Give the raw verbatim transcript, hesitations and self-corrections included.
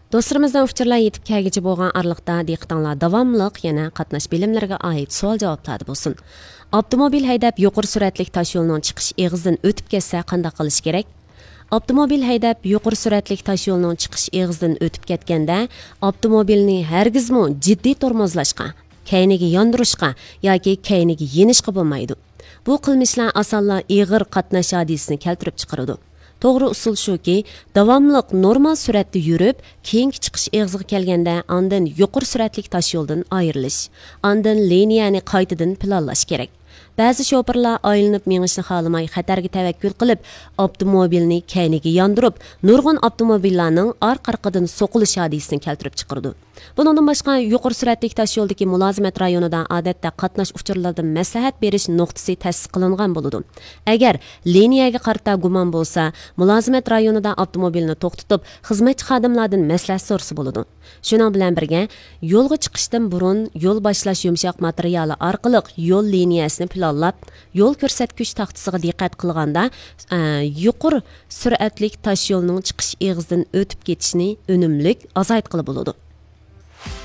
دوستلىرىمىزدىن ئۇچۇرلار يېتىپ كەلگۈچە بولغان ئارىلىقتا دىققىتىڭلار داۋاملىق يەنە قاتناش بىلىملىرىگە ئائىت سوئال-جاۋابلاردا بولسۇن. ئاپتوموبىل ھەيدەپ يۇقىرى سۈرئەتلىك تاشيولنىڭ چىقىش ئېغىزىدىن ئۆتۈپ كەتسە قانداق قىلىش كېرەك؟ ئاپتوموبىل ھەيدەپ يۇقىرى سۈرئەتلىك تاشيولنىڭ چىقىش ئېغىزىدىن ئۆتۈپ كەتكەندە، ئاپتوموبىلنى ھەرگىزمۇ جىددىي تورمۇزلاشقا، كەينىگە ياندۇرۇشقا ياكى كەينىگە يېنىشقا بولمايدۇ. بۇ قىلمىشلار ئاسانلا ئېغىر قاتناش ھادىسىسىنى كەلتۈرۈپ چىقىرىدۇ. توغرا ئۇسۇل شۇكى، داۋاملىق نورمال سۈرئەتتە يۈرۈپ، كېيىنكى چىقىش ئېغىزىغا كەلگەندە ئاندىن يۇقىرى سۈرئەتلىك تاشيولدىن ئايرىلىش، ئاندىن لىنىيەنى قايتىدىن پىلانلاش كېرەك. بەزى شوپۇرلار ئايلىنىپ مېڭىشنى خالىماي، خەتەرگە تەۋەككۈل قىلىپ، ئاپتوموبىلنى كەينىگە ياندۇرۇپ، نۇرغۇن ئاپتوموبىللارنىڭ ئارقا-ئارقىدىن سوقۇلۇش ھادىسىسىنى كەلتۈرۈپ چىقىرىدۇ. بۇنىڭدىن باشقا، يۇقىرى سۈرئەتلىك تاشيولدىكى مۇلازىمەت رايونىدا ئادەتتە قاتناش ئۇچۇرلىرىدىن مەسلىھەت بېرىش نۇقتىسى تەسىس قىلىنغان بولىدۇ. ئەگەر لىنىيەگە قارىتا گۇمان بولسا، مۇلازىمەت رايونىدا ئاپتوموبىلنى توختىتىپ، خىزمەتچى خادىملاردىن مەسلىھەت سورىسا بولىدۇ. شۇنىڭ بىلەن بىرگە، يولغا چىقىشتىن بۇرۇن يول باشلاش يۇمشاق ماتېرىيالى ئارقىلىق يول لىنىيەسىنى پىلانلاپ، يول كۆرسەتكۈچ تاختىسىغا دىققەت قىلغاندا، ئە، يۇقىرى سۈرئەتلىك تاشيولنىڭ چىقىش ئېغىزىدىن ئۆتۈپ كېتىشنى ئۈنۈملۈك ئازايتقىلى بولىدۇ.